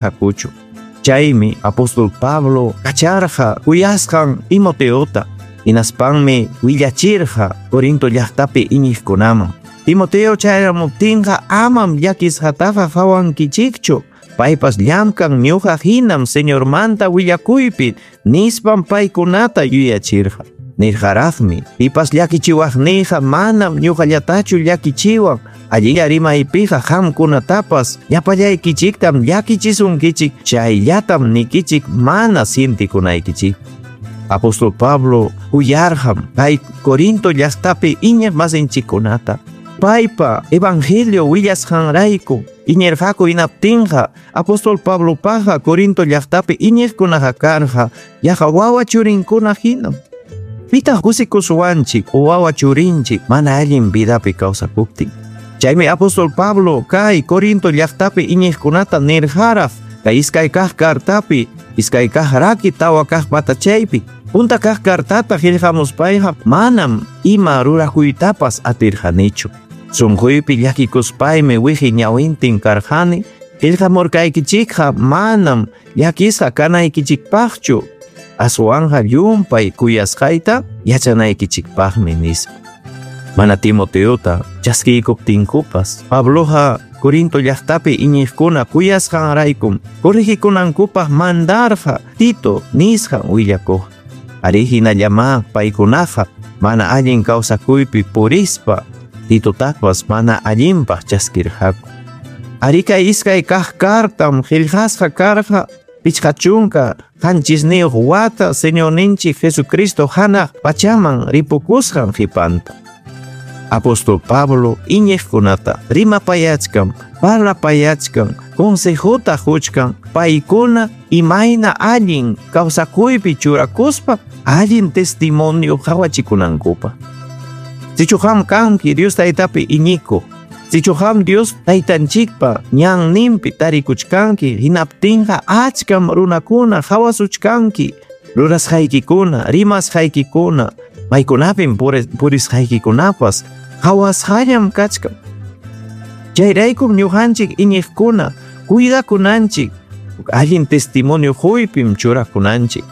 Hakuchu. Chaymi apóstol Pablo kacharqa kuyasqan Timoteota, hinaspanmi willachirqa Corinto llaqtapi iñiqkunaman. Timoteo chayaramuptinqa amam llakisqataqa qawankichikchu, paypas llamkan ñuqa hinam Señormanta willakuypi, nispam paykunata yuyachirqa. Nirqaraqmi, pipas llakichiwaqniyqa manam ñuqallatachu llakichiwan, allilla rimaypiqa qamkunatapas llapallaykichiktam llakichisunkichik, chayllatam nikichik mana sientikunaykichik. Apóstol Pablo kuyarqam kay Corinto llaqtapi iñiq masinchikkunata. Paypa evangelio willasqanrayku iñirqaku hinaptinqa apóstol Pablopaqqa Corinto llaqtapi iñiqkunaqa karqa yaqa wawa churinkuna hinam. Pitaq kusikusuwanchik o wawa churinchik mana allin vidapi kawsakuptin. Chaymi apóstol Pablo kay Corinto llaqtapi iñiqkunata nirqaraq kay iskay kaq cartapi, iskay kaq raki tawa kaq patachaypi. Punta kaq cartata qillqamuspayqa manam ima rurakuytapas atirqanichu. Sunquypi llakikuspaymi wiqi ñawintin karqani, qillqamurqaykichikqa manam llakisqa kanaykichikpaqchu, aswanqa llumpay kuyasqayta yachanaykichikpaqmi, nispa. Mana Timoteota chaskiykuptinkupas, Pabloqa Corinto llaqtapi iñiqkuna kuyasqanraykum corregikunankupaq mandarqa Tito nisqan willakuq. Arí, hinallamá paykunaqa mana allin kawsakuypi purispa Titotapas mana allinpaq chaskirqaku. Arí, kay iskay kaq cartam qillqasqa karqa 57 wata Señorninchik Jesucristo hanaq pachaman ripukusqan qipanta. Apóstol Pablo iñiqkunata rimapayachkan, parlapayachkan, consejota quchkan, paykuna imayna allin kawsakuypi churakuspa allin testimonio qawachikunankupaq. Sichu qam kanki Dios Taytapi iñikuq, sichu qam Dios Taytanchikpa ñanninpi tarikuchkanki, hinaptinqa achkam runakuna qawasuchkanki, rurasqaykikuna, rimasqaykikuna, maykunapim purisqaykikunapas qawasqallam kachkan. Chayraykum ñuqanchik iñiqkuna cuidakunanchik, allin testimonio quypim churakunanchik.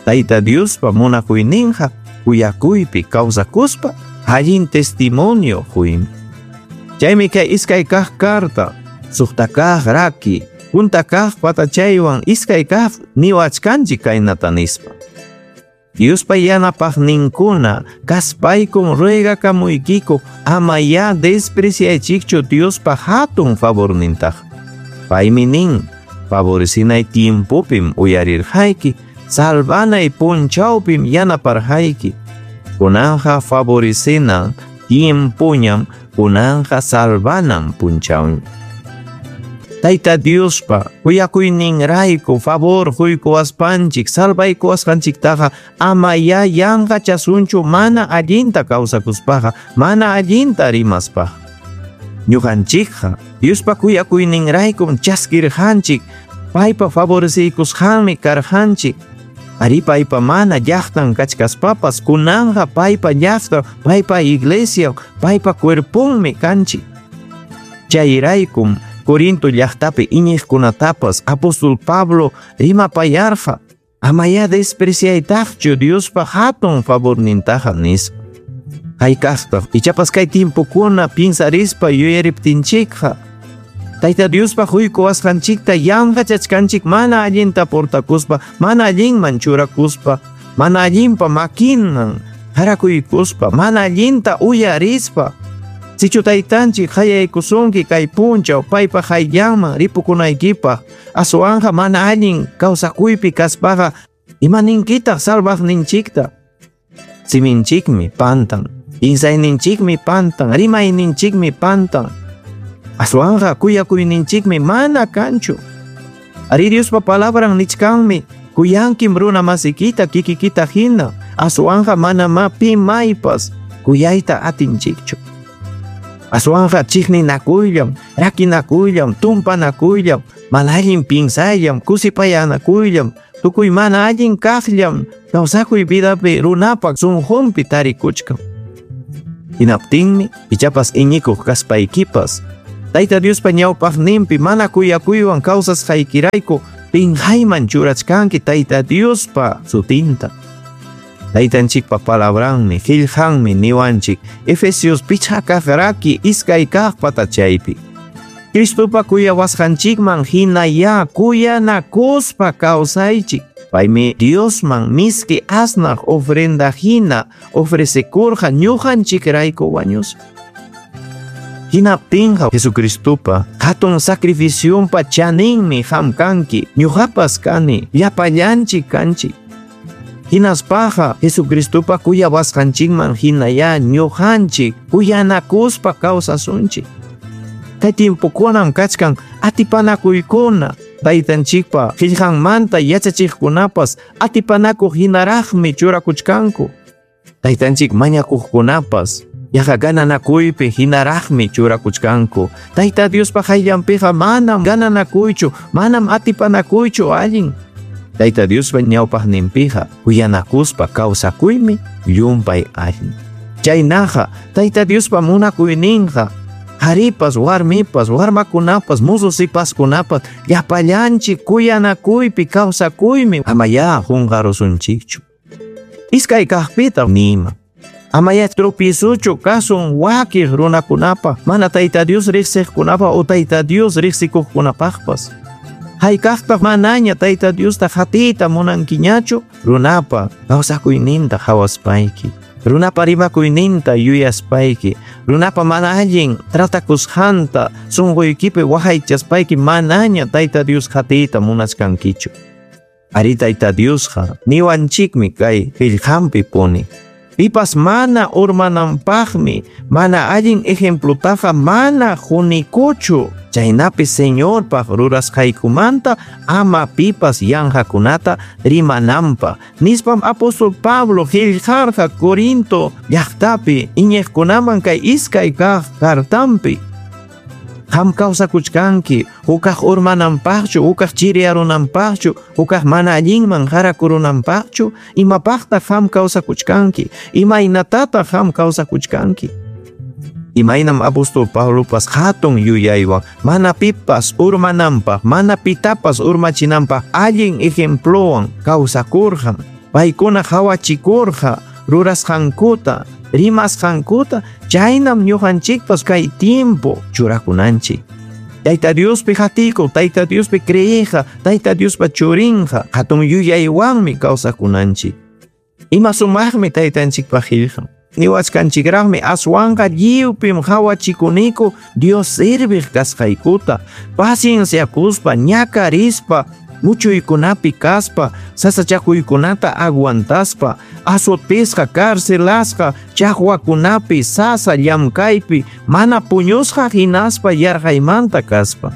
Tayta Diospa munakuyninqa kuyakuypi kawsakuspa allin testimonio quymi. Chaymi kay iskay kaq carta, suqta kaq raki, punta kaq patachaywan iskay kaq niwachkanchik kaynata nispa. Diospa yanapaqninkuna kaspaykum ruegakamuykiku amayá despreciaychikchu Diospa hatun favornintaqa. Paymi nin, favorecinay tiempopim uyarirqayki, salvanay punchawpim yanaparqayki. Kunanqa favorecinan tiempoñam, kunanqa salvanan punchawñam. Tayta Diospa kuyakuyninrayku favor quykuwaspanchik, salvaykuwasqanchiktaqa amayá yanqachasunchu mana allinta kawsakuspaqa, mana allinta rimaspaqa. Ñuqanchikqa Diospa kuyakuyninraykum chaskirqanchik, paypa favoreciykusqanmi karqanchik. Arí, paypa mana llaqtan kachkaspapas kunanqa paypa llaqtan, paypa iglesia, paypa cuerponmi kanchik. Chayraykum Corinto llaqtapi iñiqkunatapas apóstol Pablo rimapayarqa, amayá despreciaytaqchu Diospa hatun favornintaqa nispa. Hayk'aqtaq ichapas kay tiempokuna piensarispa yuyariptinchikqa, Tayta Diospa quykuwasqanchikta yanqachachkanchik mana allinta portakuspa, mana allinman churakuspa, mana allinpa makinan qarakuykuspa, mana allinta uyarispa. Sichu taytanchik qayaykusunki kay punchaw paypa qayllanman ripukunaykipaq, aswanqa mana allin kawsakuypi kaspaqa imaninkitaq salvaqninchikta? Siminchikmi pantan, piensayninchikmi pantan, rimayninchikmi pantan. Aswanqa kuyakuyninchikmi mana kanchu. Arí, Diospa palabran nichkanmi, kuyankim runa masikita kikikita hina, aswanqa manamá pi maypas kuyayta atinchikchu. Aswanqa chiqninakuyllam, rakinakuyllam, tumpanakuyllam, mana allin piensayllam, kusipayanakuylam, tukuy mana allin kaqllam kawsakuy vidapi runapa sunqunpi tarikuchkan. Hinaptinmi ichapas iñikuq kaspaykipas Tayta Diospa ñawpaqninpi mana kuyakuywan kawsasqaykirayku pinqayman churachkanki Tayta Diospa sutinta. Taytanchikpa palabranmi, qillqanmi niwanchik Efesios pichqa kaq raki iskay kaq patachaypi. Cristopa kuyawasqanchikman hinayá kuyanakuspa kawsaychik. Paymi Diosman miski asnaq ofrenda hina ofrecekurqa ñuqanchikrayku wañuspa. Hinaptinqa Jesucristopa hatun sacrificionpa chaninmi qam kanki, ñuqapas kani, llapallanchik kanchik. Hinaspaqa Jesucristopa kuyawasqanchikman hinayá ñuqanchik kuyanakuspa kawsasunchik. Kay tiempokunam kachkan atipanakuykuna, taytanchikpa qillqanmanta yachachiqkunapas atipanakuq hinaraqmi churakuchkanku. Taytanchik mañakuqkunapas yaqa gananakuypi hinaraqmi churakuchkanku. Tayta Diospa qayllanpiqa manam gananakuychu, manam atipanakuychu allin. Tayta Diospa ñawpaqninpiqa kuyanakuspa kawsakuymi llumpay allin. Chaynaqa Tayta Diospa munakuyninqa qharipas, warmipas, warmakunapas, musu-sipaskunapas llapallanchik kuyanakuypi kawsakuymi amayá qunqarusunchikchu. Iskay kaqpita nima. Amaya tropiezochu kasun wakiq runakunapa, mana Tayta Dios riqsiqkunapa o Tayta Dios riqsikuqkunapaqpas. Haykaqtaq manaña Tayta Diosta qatiyta munankiñachu runapa kawsakuyninta qawaspayki, runapa rimakuyninta yuyaspayki, runapa mana allin tratakusqanta sunquykipi waqaychaspayki manaña Tayta Dios qatiyta munachkankichu. Ari Tayta Diosqa niwanchikmi kay qillqanpi puni. Pipas mana urmananpaqmi, mana allin ejemplotaqa mana qunikuchu. Chaynapi Señorpaq rurasqaykumanta ama pipas yanqakunata rimananpaq. Nispam apóstol Pablo qillqarqa Corinto llaqtapi iñiqkunaman kay iskay kaq cartanpi. Qam kawsakuchkanki, hukaq urmananpaqchu, hukaq chiriyarunanpaqchu, hukaq mana allinman qarakurunanpaqchu, imapaqtaq qam kawsakuchkanki, imaynatataq qam kawsakuchkanki. Imaynam apóstol Pablopas hatun yuyaywan, mana pipas urmananpaq, mana pitapas urmachinanpaq allin ejemplowan kawsakurqa, paykuna qawachikurqa rurasqankuta, rimasqankuta, chaynam ñuqanchikpas kay tiempo churakunanchik. Tayta Diospi qatikuq, Tayta Diospi creeqqa, Tayta Diospa churinqa, hatun yuyaywanmi kawsakunanchik. Ima sumaqmi taytanchikpa qillqan. Niwachkanchikraqmi aswanqa lliwpim qawachikuniku Dios serviq kasqaykuta, pacienciakuspa, ñakarispa, muchuykunapi kaspa, sasachakuykunata aguantaspa, azotisqa, carcelasqa, chaqwakunapi, sasa llamkaypi, mana puñusqa hinaspa yarqaymanta kaspa.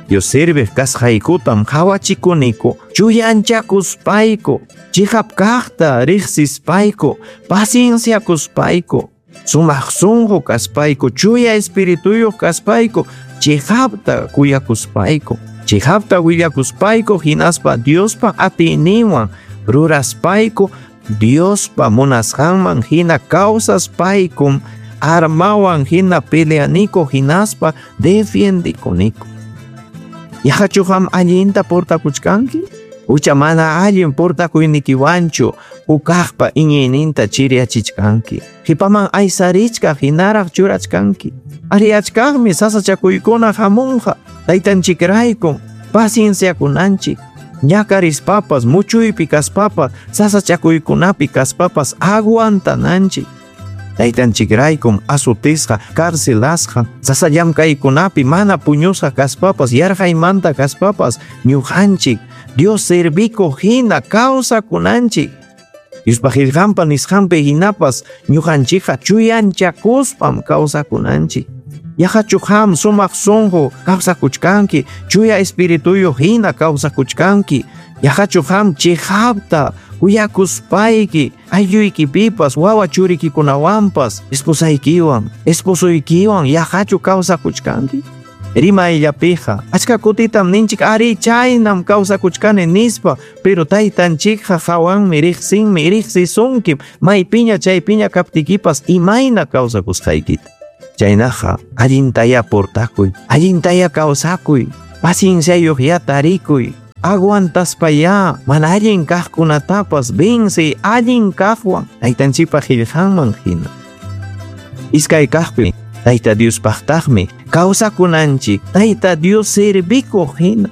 Dios serviq kasqaykutam qawachikuniku, chuyanchakuspayku, chiqap kaqta riqsispayku, pacienciakuspayku, sumaq sunqu kaspayku, chuya espirituyuq kaspayku, chiqapta kuyakuspayku, chiqapta willakuspayku hinaspa Diospa atiyninwan ruraspayku, Diospa munasqanman hina kawsaspaykum armawan hina peleaniku hinaspa defiendikuniku. Yaqachu qam allinta portakuchkanki? Ucha mana allin portakuynikiwanchu hukaqpa iñiyninta chiriyachichkanki. Qipaman aysarichkaq hinaraq churachkanki. Ariachkaqmi sasachakuykuna hamunqa taytanchikraykum pacienciakunanchik. Ñakarispapas, muchuypi kaspapas, sasachakuykunapi kaspapas aguantananchik. Taytanchikraykum azotisqa, carcelasqa, sasa llamkaykunapi mana puñusqa kaspapas, yarqaymanta kaspapas, ñuqanchik Dios servikuq hina kawsakunanchik. Diospa qillqanpa nisqanpi hinapas ñuqanchikqa chuyanchakuspam kawsakunanchik. Yaqachu qam sumaq sunqu kawsakuchkanki, chuya espirituyuq hina kawsakuchkanki. Yaqachu qam chiqapta kuyakuspayki aylluykipipas, wawa churikikunawanpas, esposaykiwan, esposoykiwan yaqachu kawsakuchkanki. Rimayllapiqa achka kutitam ninchik ari chaynam kawsakuchkani nispa, pero taytanchikqa qawanmi riqsinmi riqsisunkim maypiña chaypiña kaptikipas imayna kawsakusqaykita. Chaynaqa allintaya portakuy, allintaya kawsakuy, pacienciayuq ya tarikuy, aguantaspayá mana allin kaqkunatapas vencey allin kaqwan taytanchikpa qillqanman hina. Iskay kaqpi Tayta Diospaqtaqmi kawsakunanchik Tayta Dios servikuq hina.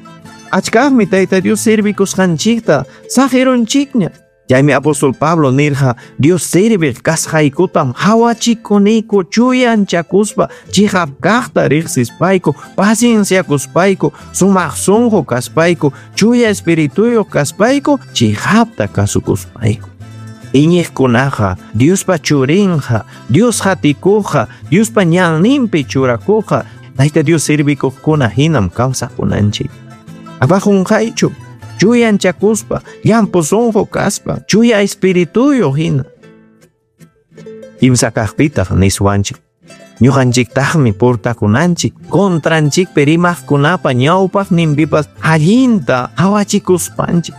Achkaqmi Tayta Dios servikusqanchikta saqirunchikña. Chaymi apóstol Pablo nirqa Dios serviq kasqaykutam hawachikuniku chuyanchakuspa chiqap kaqta riqsispayku pacienciakuspayku sumaq sunqu kaspayku chuya espirituyuq kaspayku chiqapta kasukuspayku. Iñiqkunaqa Diospa churinqa Dios hatikuqqa Diospa ñanninpi churakuqqa Tayta Dios servikuqkuna hinam kawsakunanchik. Abajunqaychu chuyanchakuspa llampu sunqu kaspa chuya espirituyuq hina. Kimsa kaqpitaq niswanchik. Ñuqanchiktaqmi portakunanchik contranchikpi rimaqkunapa ñawpaqninpipas allinta hawachikuspanchik.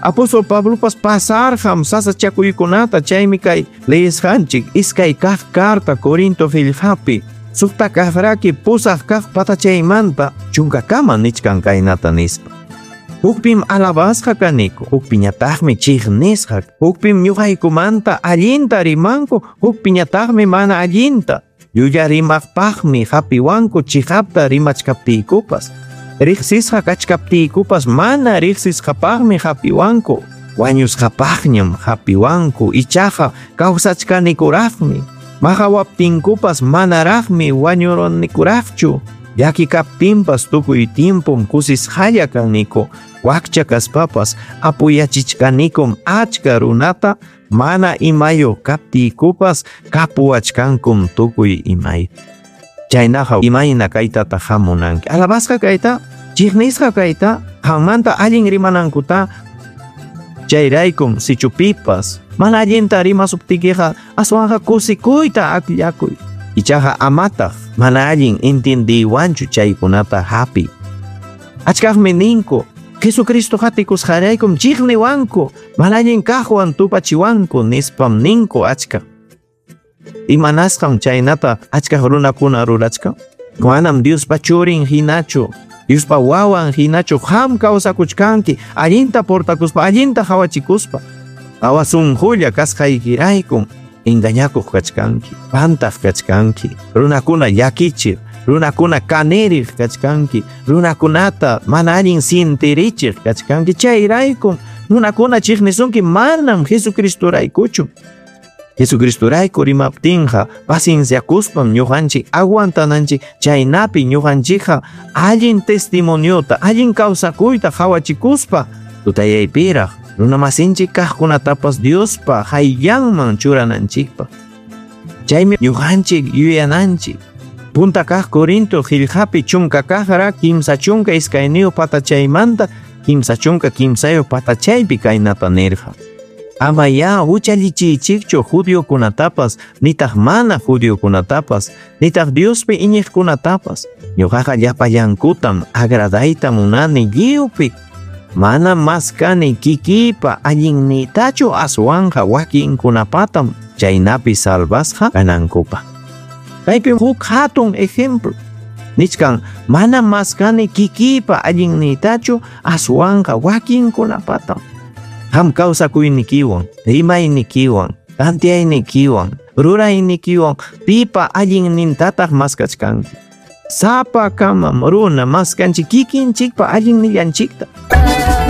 Apóstol Pablopas pasarqam sasachakuykunata chaymi kay leesqanchik iskay kaq carta Corinto qillqapi suqta kaqraki pusaq kaq patachaymanta chunkakama nichkan kaynata nispa. Hukpim alabasqa kaniku, hukpiñataqmi chiqnisqa, hukpim ñuqaykumanta allinta rimanku, hukpiñataqmi mana allinta. Llulla rimaqpaqmi hapiwanku chiqapta rimachkaptiykupas. Riqsisqa kachkaptiykupas mana riqsisqapaqmi hapiwanku. Wañusqapaqñam hapiwanku, ichaqa kawsachkanikuraqmi. Maqawaptinkupas manaraqmi wañurunikuraqchu. Llaki kaptinpas tukuy tiempom kusisqalla kaniku. Wakcha kaspapas apoyachichkanikum achka runata mana imayuq kaptiykupas kapuwachkankum tukuy imay. Chaynaqa imayna kaytataq hamunanki. Alabasqa kayta, chiqnisqa kayta, qammanta allin rimanankuta. Chayraykum sichupipas mana allinta rimasuptiykiqa aswanqa kusikuyta akllakuy. Ichaqa amataq mana allin intindiywanchu chaykunata hapi. Achkaqmi ninku Jesucristo hatikusqaraykum chiqniwanku mana allin kaqwan tupachiwanku nispam ninku achka. Imanasqam chaynata achkaq runakuna rurachkan? Manam Diospa churin hinachu, Diospa wawan hinachu qam kawsakuchkanki allinta portakuspa allinta hawachikuspa. Awasunqulla kasqaykiraykum engañakuq kachkanki, pantaq kachkanki, runakuna llakichiq, runakuna kaniriq kachkanki, runakunata mana allin sintirichiq kachkanki. Chayraykum runakuna chiqnisunki manam Jesucristoraykuchu. Jesucristorayku rimaptinqa pacienciakuspam ñuqanchik aguantananchik chaynapi ñuqanchikqa allin testimoniota, allin kawsakuyta hawachikuspa tutayaypiraq runamasinchik kaqkunatapas Diospa hayllanman churananchikpaq. Chaymi ñuqanchik yuyananchik. Punta kaq Corinto qillqapi chunka kaqra 32 patachaymanta 33 patachaypi kaynata nirqa. Ama ya huchallichiychikchu judiokunatapas, nitaq mana judiokunatapas, nitaq Diospi iñiqkunatapas. Ñuqaqa llapallankutam agradayta munani lliwpi. Mana maskani kikiypa allinniytachu aswanqa wakinkunapatam chaynapi salvasqa kanankupaq. Kaypi huk hatun ejemplo. Nichkan mana maskani kikiypa allinniytachu aswanqa wakinkunapatam. Qam kawsakuynikiwan, rimaynikiwan, tantiyaynikiwan, ruraynikiwan pipa allinnintataq maskachkanki. Sapakamam runa maskanchik kikinchikpa allinnillanchikta.